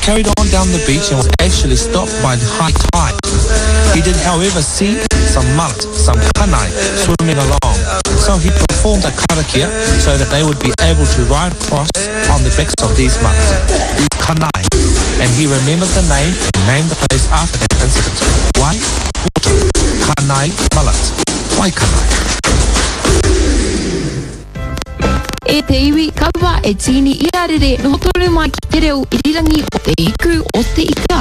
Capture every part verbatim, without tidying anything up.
carried on down the beach and was actually stopped by the high tide. He did, however, see some mullet, some kanae, swimming along. So he performed a karakia so that they would be able to ride across on the backs of these mullet, these kanae. And he remembered the name and named the place after that incident. Wai, water, kanae, mullet, Waikanae. E te iwi, kaua e tīni i a rere, noho tonu mai ki te reo irirangi o Te Hiku o Te Ika.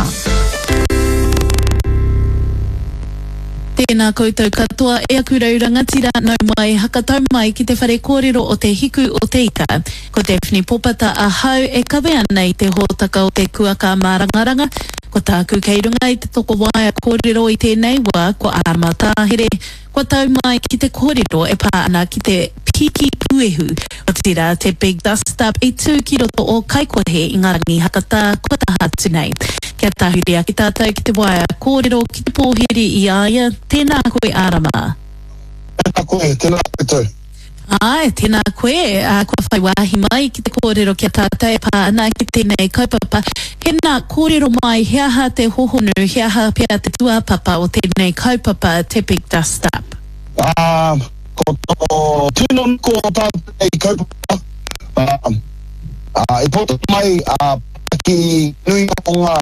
Tēnā koutou katoa e aku rau rangatira, nau mai, hakatau mai ki te whare kōrero o Te Hiku o Te Ika. Ko Daphne Popata ahau e kawe ana i te hōtaka o te kuaka mārangaranga. Ko tāku kei runga i te tokowaea kōrero i tēnei wā, ko Arama Tāhere, kua tau mai ki te kōrero e pā ana ki te piki puehu, otirā te Big Dust Up i tū ki roto o Kaikohe i ngā rangi hakatā kua taha atu nei. Kia tahuri ake tātou ki te waea kōrero ki te pōhiri i a ia, tēnā koe Arama. Tēnā koe, tēnā koutou. Āe, tēnā koe, ā, kua whai wāhi mai ki te kōrero ki a tātou e pā ana ki tēnei kaupapa. Tēnā, kōrero mai, he aha te hohonu, he aha pea te tūāpapa o tēnei kaupapa, te Big Dust Up? Ā, ko tō tino nuku o tā tēnei kaupapa, ā, ā, i puta mai, ā, ki nui o ngā,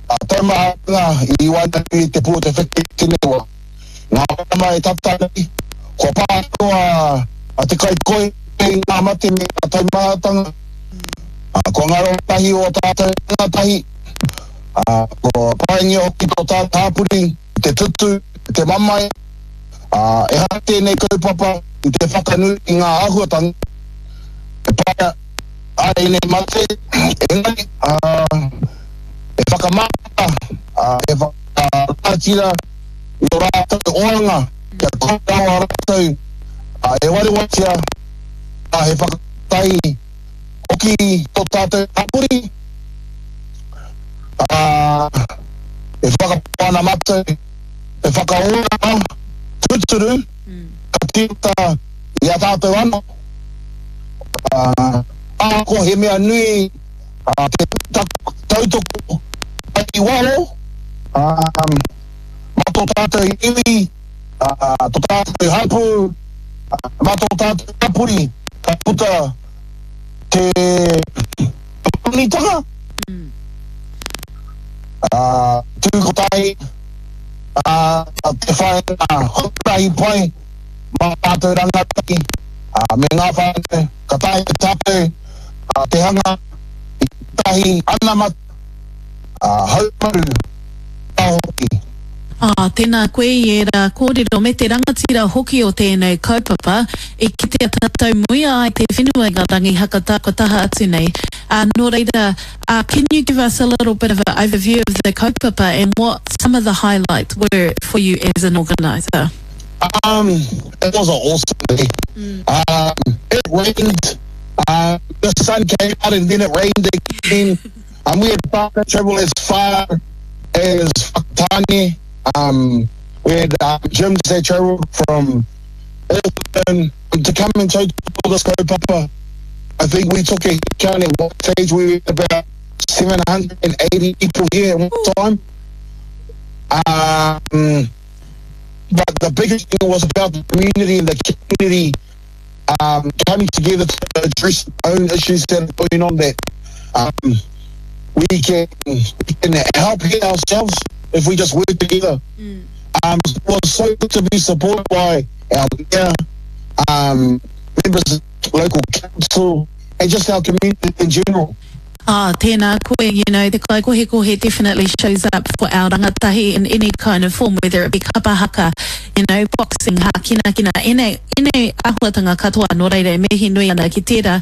ā, taumahatanga i waenganui i te pū o te wheke i tēnei wā. Ngā marama e tata nei, kua pā katoa a te kaikoi i ngā mate me ngā taumahatanga, kua ngaro tahi ō tātou rangatahi, kua paingia hoki tō tātou hapori i te tutu, i te mamae, ehara tēnei kaupapa i te whakanui i ngā āhuatanga e pā ai ēnei mate, engari e whakamāmā, e whakarangatira i ō rātou oranga kia kore rawa rātou e warewaretia, ā, he whakatahi hoki tō tātou hapori, ā, e whakapau ana mātou te whakaoranga tūturu ka tīmata i a tātou anō, ā, ahakoa he mea nui te tautoko mai i waho, ā, mā tō tātou iwi, tō tātou hapū, mā tō tātou hapori ka puta te panonitanga, ā, tū kotahi, ā, te whāinga huarahi pai mā tātou rangatahi, ā, me ngā whānau, ka taea e tātou te hanga i tētahi anamata, ā, haumaru rā hoki. Ā, tēnā koe i ērā kōrero me te rangatira hoki o tēnei kaupapa, i kitea tātou muia ai te whenua i ngā rangi hakatā kua taha atu nei. Ā, nō reira, ā, can you give us a little bit of an overview of the kaupapa and what some of the highlights were for you as an organiser? Um, it was an awesome day. Um, it rained, um, the sun came out and then it rained again. Um, we had to travel as far as Whakatane. Um, we had, uh, gyms that travelled from Auckland to come and take all this kaupapa. I think we took a count at one stage. We had about seven hundred and eighty people here at one time. Um, but the biggest thing was about the community and the community, um, coming together to address their own issues that are going on, that, um, we can, we can help here ourselves if we just work together. Mm. Um, it was so good to be supported by our mayor, um, members of the local council, and just our community in general. Ah, tēnā koe, you know, te kaikohekohe definitely shows up for our rangatahi in any kind of form, whether it be kapa haka, you know, boxing, hākinakina, ene, ene āhuatanga katoa, nō reira e mihi nui ana ki tērā.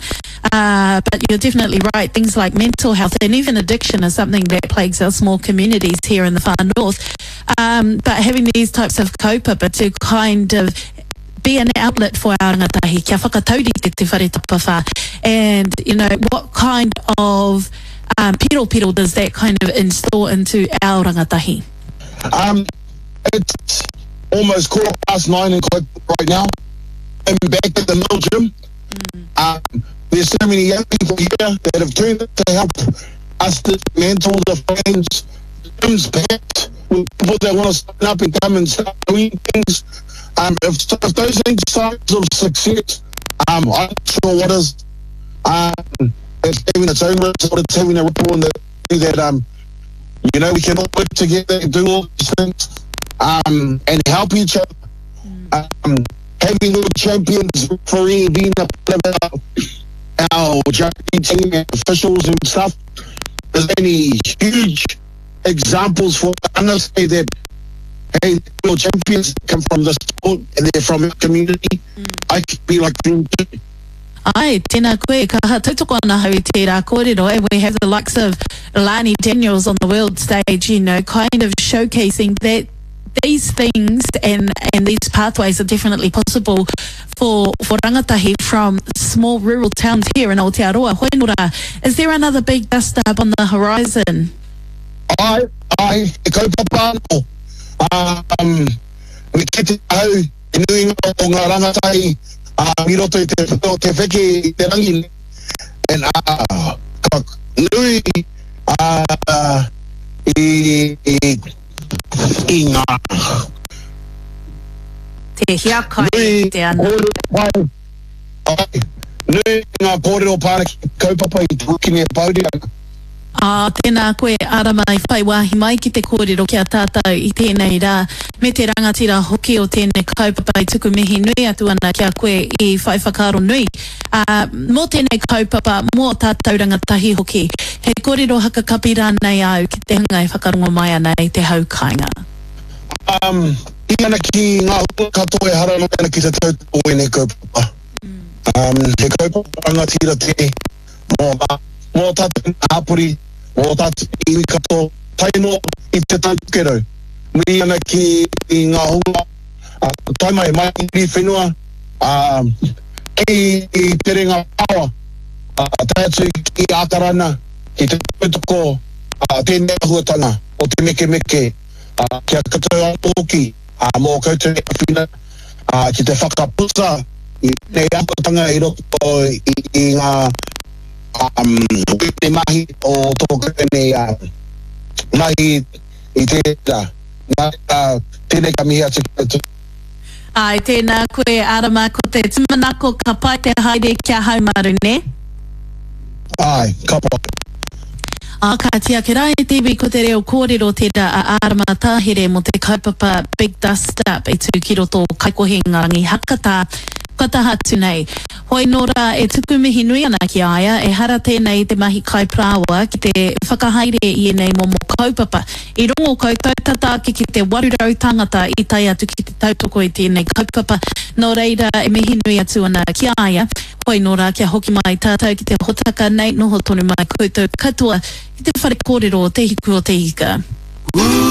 Uh, but you're definitely right, things like mental health and even addiction are something that plagues our small communities here in the far north. Um, but having these types of kaupapa to kind of be an outlet for our rangatahi, kia whakataurite te whare tapawhā. And, you know, what kind of, um, piro piro does that kind of install into our rangatahi? Um, it's almost quarter past nine in Kaikohe right now. I'm back at the middle gym. Mm. Um, there's so many young people here that have turned up to help us to mantle the flames, gym's packed with people that want to sign up and come and start doing things. Um, if, if those ain't signs of success, um, I'm not sure what is. Um, it's having its own result, it's having a ripple in the that, um, you know, we can all work together and do all these things, um, and help each other. Um, having world champions, referee being a part of our, our judging team and officials and stuff, there's any huge examples for us say that, hey, world champions come from this sport and they're from our community. Mm. I could be like them too. Ai, tēnā koe, kaha tautoko ana hau i tērā kōrero, and we have the likes of Lani Daniels on the world stage, you know, kind of showcasing that these things and, and these pathways are definitely possible for, for rangatahi from small rural towns here in Aotearoa. Hoenora, is there another big dust up on the horizon? Ai, ai, e kaupapa anō. Um, me kite au, i nuinga o ngā rangatahi, uh, i roto i te, te wheke i te rangi. And, uh, ka nui uh, i, i, i ngā Te hiakai nui te ana. kōrero pai, ai, nui ngā kōrero pāna ki kaupapa i te wikine e pauri ana. Ā, tēnā koe, Arama, i whai wāhi mai ki te kōrero ki a tātou i tēnei rā, me te rangatira hoki o tēnei kaupapa i tuku mihi nui atu ana ki a koe i whai whakaaro nui. Uh, mō tēnei kaupapa, mō tātou rangatahi hoki, he kōrero hakakapi rānei au ki te hunga e whakarongo mai ana i te hau kāinga. Um, i ana ki ngā hua katoa e haramai ana ki te tautoko o ēnei kaupapa. Um, he kaupapa rangatira te mō, mō tātou hapori, mō tātou iwi katoa, tae noa i te Tai Tokerau. Mihi ana ki i ngā hunga, uh, tae mai mai i whenua, um, ki i te renga pawa, uh, tae atu ki Ākarana, ki te tautoko uh, tēnei āhuatanga o te mekemeke, uh, kia koutou anō hoki, uh, mō koutou e āwhina, uh, ki te whakaputa i tēnei āhuatanga i roto i, i ngā um, te mahi o tō koutou nei uh, mahi i tērā. Nā, uh, tēnei ka mihi atu ki koutou. Ai, tēnā koe, Arama, ko te tūmanako ka pai te haere kia haumaru, ne? Ai, ka pai. Ā, ka tia ke rā e te iwi ko te reo kōrero tērā a Arama Tāhere mō te kaupapa Big Dust Up e tū ki roto o Kaikohe ngā rangi hakatā kua taha atu nei. Hoi nō rā e tuku mihi nui ana ki a ia, ehara tēnei te mahi kai parāoa ki te whakahaere i ēnei momo kaupapa. I rongo koutou tata ake ki te waru rau tāngata i tae atu ki te tautoko i tēnei kaupapa. Nō reira e mihi nui atu ana ki a ia. Hoi nō rā kia hoki mai tātou ki te hotaka nei, noho tonu mai koutou katoa ki te whare kōrero o Te Hiku o Te Ika.